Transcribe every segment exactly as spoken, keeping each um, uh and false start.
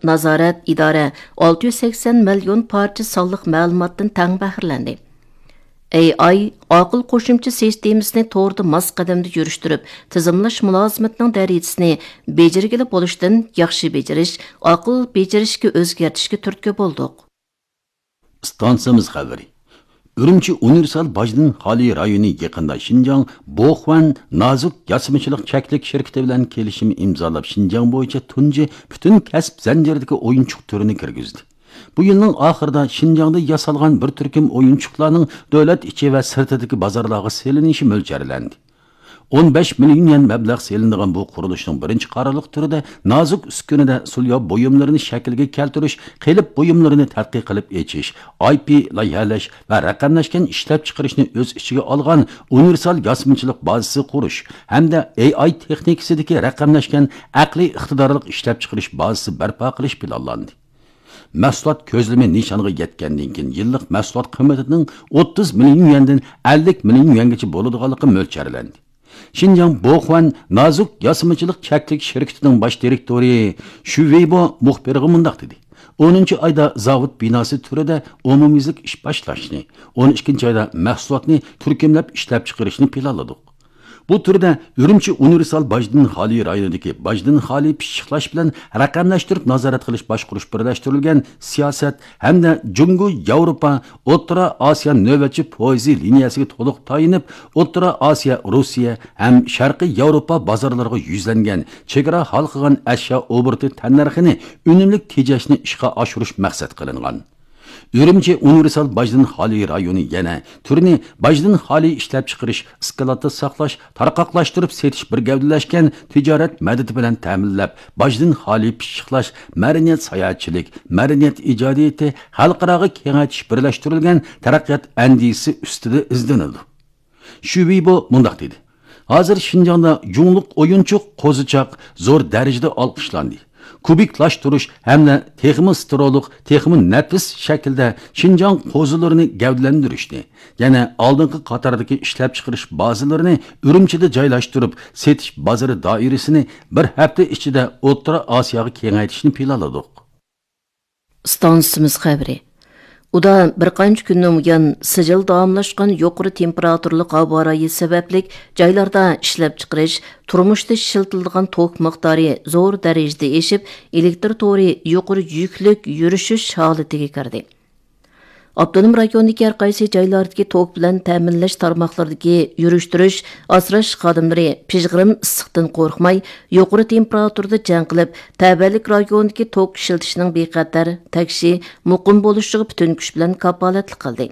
نازارەت ئىدارە ئالتە يۈز سەكسەن مىليون پارچە سانلىق مەلۇماتتىن تەڭ بەھرىلەندى. ئېي ئاي ئاقىل قوشۇمچە سىستېمىسىنى توردا ماس قەدەمدە يۈرۈشتۈرۈپ، تىزىملاش مۇلازىمىتىنىڭ دەرىجىسىنى بېجىرگىلى بولۇشتىن ياخشى بېجىرىش، ئاقىل بېجىرىشكە ئۆزگەرتىشكە تۈرتكە بولدۇق. ئىستانسىمىز خەۋىرى. ئۈرۈمچى ئۇنىۋېرسال باجدىن خالىي رايونى يېقىندا شىنجاڭ بوخۇەن نازۇك ياسىمىچىلىق چەكلىك شىركىتى بىلەن كېلىشىم ئىمزالاپ، شىنجاڭ بويىچە تۇنجى پۈتۈن كەسىپ زەنجىرىدىكى ئويۇنچۇق تۈرىنى كىرگۈزدى. بۇ يىلنىڭ ئاخىرىدا شىنجاڭدا ياسالغان بىر تۈركۈم ئويۇنچۇقلارنىڭ دۆلەت ئىچى ۋە سىرتىدىكى بازارلارغا سېلىنىشى مۆلچەرلەندى. ئون بەش مىليون يۈەن مەبلەغ سېلىنىدىغان بۇ قۇرۇلۇشنىڭ بىرىنچى قارارلىق تۈرىدە نازۇك ئۈسكۈنىدە سۇلياۋ بۇيۇملىرىنى شەكىلگە كەلتۈرۈش، قېلىپ بۇيۇملىرىنى تەتقىق قىلىپ ئېچىش، ئاي پى لايىھەلەش ۋە رەقەملەشكەن ئىشلەپچىقىرىشنى ئۆز ئىچىگە ئالغان ئۇنىۋېرسال ياسىمىچىلىق بازىسى قۇرۇش ھەمدە ئېي ئاي تېخنىكىسىدىكى رەقەملەشكەن ئەقلىي ئىقتىدارلىق ئىشلەپچىقىرىش بازىسى بەرپا قىلىش پىلانلاندى. مەھسۇلات كۆزلىمى نىشانغا يەتكەندىن كېيىن، يىللىق مەھسۇلات قىممىتىنىڭ ئوتتۇز مىليون يۈەندىن ئەللىك مىليون يۈەنگىچە بولىدىغانلىقى مۆلچەرلەندى. شىنجاڭ بوخۇەن نازۇك ياسىمىچىلىق چەكلىك شىركىتىنىڭ باش دىرېكتورى شۈ ۋېيبو مۇخبىرغا مۇنداق دېدى: «ئونىنچى ئايدا زاۋۇت بىناسى تۈرىدە ئومۇميۈزلۈك ئىش باشلاشنى، ئون ئىككىنچى ئايدا مەھسۇلاتنى تۈركۈملەپ ئىشلەپچىقىرىشنى پىلانلىدۇق.» بۇ تۈردە ئۈرۈمچى ئۇنىۋېرسال باجدىن خالىي رايونىدىكى باجدىن خالىي پىششىقلاش بىلەن رەقەملەشتۈرۈپ نازارەت قىلىش باشقۇرۇش بىرلەشتۈرۈلگەن سىياسەت ھەمدە جۇڭگو ياۋروپا ئوتتۇرا ئاسىيا نۆۋەتچى پويىزى لىنىيەسىگە تولۇق تايىنىپ، ئوتتۇرا ئاسىيا، روسىيە ھەم شەرقىي ياۋروپا بازارلىرىغا يۈزلەنگەن چېگرا ھالقىغان ئەشيا ئوبوروتى تەننەرخىنى ئۈنۈملۈك تېجەشنى ئىشقا ئاشۇرۇش مەقسەت قىلىنغان. ئۈرۈمچى ئۇنىۋېرسال باجدىن خالىي رايونى يەنە تۈرنى باجدىن خالىي ئىشلەپچىقىرىش، ئىسكىلاتتا ساقلاش، تارقاقلاشتۇرۇپ سېتىش بىر گەۋدىلەشكەن تىجارەت مەدىتى بىلەن تەمىنلەپ، باجدىن خالىي پىششىقلاش، مەدەنىيەت ساياھەتچىلىك، مەدەنىيەت ئىجادىيىتى خەلقئاراغا كېڭەيتىش بىرلەشتۈرۈلگەن تەرەققىيات ئەندىزىسى ئۈستىدە ئىزدىنىدۇ. شۈ ۋېيبو مۇنداق دېدى: «ھازىر شىنجاڭدا جۇڭلۇق ئويۇنچۇق قوزىچاق زور دەرىجىدە ئالقىشلاندى. كۇبىكلاشتۇرۇش ھەمدە تېخىمۇ سترولۇق، تېخىمۇ نەپىس شەكىلدە شىنجاڭ قوزىلىرىنى گەۋدىلەندۈرۈشنى، يەنە ئالدىنقى قاتاردىكى ئىشلەپچىقىرىش بازىلىرىنى ئۈرۈمچىدە جايلاشتۇرۇپ، سېتىش بازىرى دائىرىسىنى بىر ھەپتە ئىچىدە ئوتتۇرا ئاسىياغا كېڭەيتىشنى پىلانلىدۇق.» ئىستانسىمىز خەۋىرى. ئۇدا بىر قانچە كۈندىن بۇيان سىجىل داۋاملاشقان يۇقىرى تېمپېراتۇرىلىق ھاۋا رايى سەۋەبلىك، جايلاردا ئىشلەپچىقىرىش، تۇرمۇشتا ئىشلىتىلىدىغان توك مىقدارى زور دەرىجىدە ئېشىپ، ئېلېكتر تورى يۇقىرى يۈكلۈك يۈرۈشۈش ھالىتىگە كىردى. ئاپتونوم رايوندىكى ھەر قايسى جايلاردىكى توك بىلەن تەمىنلەش تارماقلىرىدىكى يۈرۈشتۈرۈش، ئاسراش خادىملىرى پىژغىرىم ئىسسىقتىن قورقماي، يۇقىرى تېمپېراتۇرىدا جەڭ قىلىپ، تەۋەلىك رايونىدىكى توك ئىشلىتىشنىڭ بىخەتەر، تەكشى، مۇقىم بولۇشىغا پۈتۈن كۈچ بىلەن كاپالەتلىك قىلدى.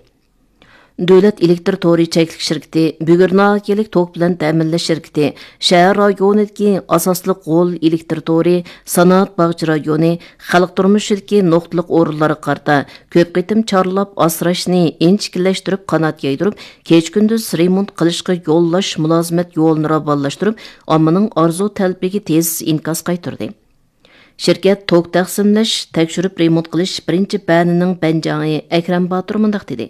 دۆلەت ئېلېكتر تورى چەكلىك شىركىتى، بۈگۈر ناھىيەلىك توك بىلەن تەمىنلەش شىركىتى، شەھەر رايونىدىكى ئاساسلىق غول ئېلېكتر تورى، سانائەت باغچە رايونى، خەلق تۇرمۇشىدىكى نۇقتىلىق ئورۇنلارغا قارىتا كۆپ قېتىم چارلاپ ئاسراشنى ئىنچىكىلەشتۈرۈپ، قانات يايدۇرۇپ، كېچە-كۈندۈز رېمونت قىلىشقا يوللاش مۇلازىمەت يولىنى راۋانلاشتۇرۇپ، ئاممىنىڭ ئارزۇ تەلىپىگە تېز ئىنكاس قايتۇردى. شىركەت توك تەقسىملەش، تەكشۈرۈپ رېمونت قىلىش بىرىنچى بەنىنىڭ بەنجاڭى ئەكرەم باتۇر مۇنداق دېدى: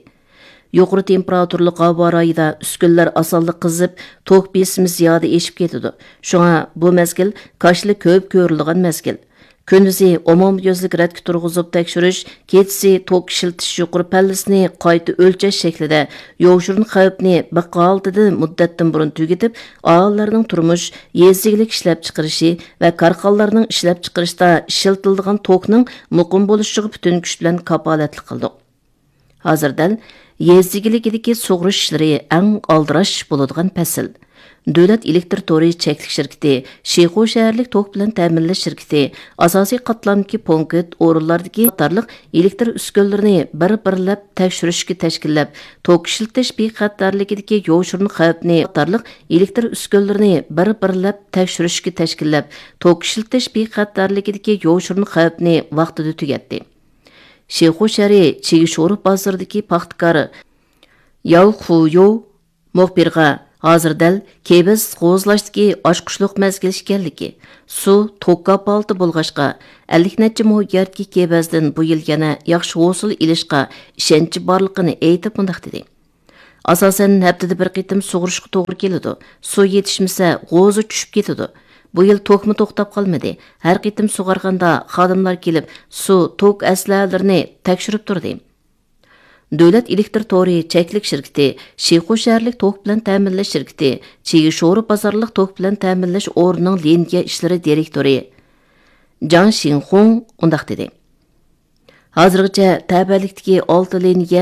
«يۇقىرى تېمپېراتۇرىلىق ھاۋا رايىدا ئۈسكۈنىلەر ئاسانلا قىزىپ، توك بېسىمى زىيادە ئېشىپ كېتىدۇ. شۇڭا بۇ مەزگىل كاشىلا كۆپ كۆرۈلىدىغان مەزگىل. كۈندۈزى ئومۇميۈزلۈك رەتكە تۇرغۇزۇپ تەكشۈرۈش، كېچىسى توك ئىشلىتىش يۇقىرى پەللىسىنى قايتا ئۆلچەش شەكلىدە يوشۇرۇن خەۋپنى بىخ ھالىتىدە مۇددەتتىن بۇرۇن تۈگىتىپ، ئاھالىلەرنىڭ تۇرمۇش، يېزا ئىگىلىك ئىشلەپچىقىرىشى ۋە كارخانىلارنىڭ ئىشلەپچىقىرىشىدا ئىشلىتىلىدىغان توكنىڭ مۇقىم بولۇشىغا پۈتۈن كۈچ بىلەن كاپالەتلىك قىلدۇق. ھازىر دەل يېزا ئىگىلىكىدىكى سۇغىرىش ئىشلىرى ئەڭ ئالدىراش بولىدىغان پەسىل. دۆلەت ئېلېكتر تورى چەكلىك شىركىتى، شىخۇ شەھەرلىك توك بىلەن تەمىنلەش شىركىتى، ئاساسىي قاتلامدىكى پونكىت ئورۇنلاردىكى قاتارلىق ئېلېكتر ئۈسكۈنىلىرىنى بىر-بىرلەپ تەكشۈرۈشكە تەشكىللەپ، توك ئىشلىتىش بىخەتەرلىكىدىكى يوشۇرۇن خەۋپنى قاتارلىق ئېلېكتر ئۈسكۈنىلىرىنى بىر-بىرلەپ تەكشۈرۈشكە تەشكىللەپ، توك ئىشلىتىش بىخەتەرلىكىدىكى يوشۇرۇن خەۋپنى ۋاقتىدا تۈگەتتى. شىخۇ شەھىرى چىگىشورۇ بازىرىدىكى پاختىكار ياۋ خۇيۇ مۇخبىرغا ھازىر دەل كېبەز قوزغىلاشتىكى ئاچقۇچلۇق مەزگىل ئىكەنلىكى، سۇ توك كاپالىتى بولغاچقا، ئەللىك نەچچە مو يەردىكى كېبەزدىن بۇ يىل يەنە ياخشى ھوسۇل ئېلىشقا ئىشەنچى بارلىقىنى ئېيتىپ مۇنداق دېدى: «ئاساسەن ھەپتىدە بىر قېتىم سۇغۇرۇشقا توغرا كېلىدۇ. سۇ يېتىشمىسە، غوزا چۈشۈپ كېتىدۇ. بۇ يىل توكمۇ توختاپ قالمىدى. ھەر قېتىم سۇغارغاندا خادىملار كېلىپ، سۇ، توك ئەسلىھەلىرىنى تەكشۈرۈپ تۇردى. دۆلەت ئېلېكتىر تورى چەكلىك شىركىتى، شىخۇ شەھەرلىك توك بىلەن تەمىنلەش شىركىتى، چىگى شورا بازارلىق توك بىلەن تەمىنلەش ئورنىنىڭ لىنىيە ئىشلىرى دىرېكتورى جاڭ شىڭخۇڭ مۇنداق دېدى: ھازىرغىچە تەۋەلىكتىكى ئالتە لىنىيە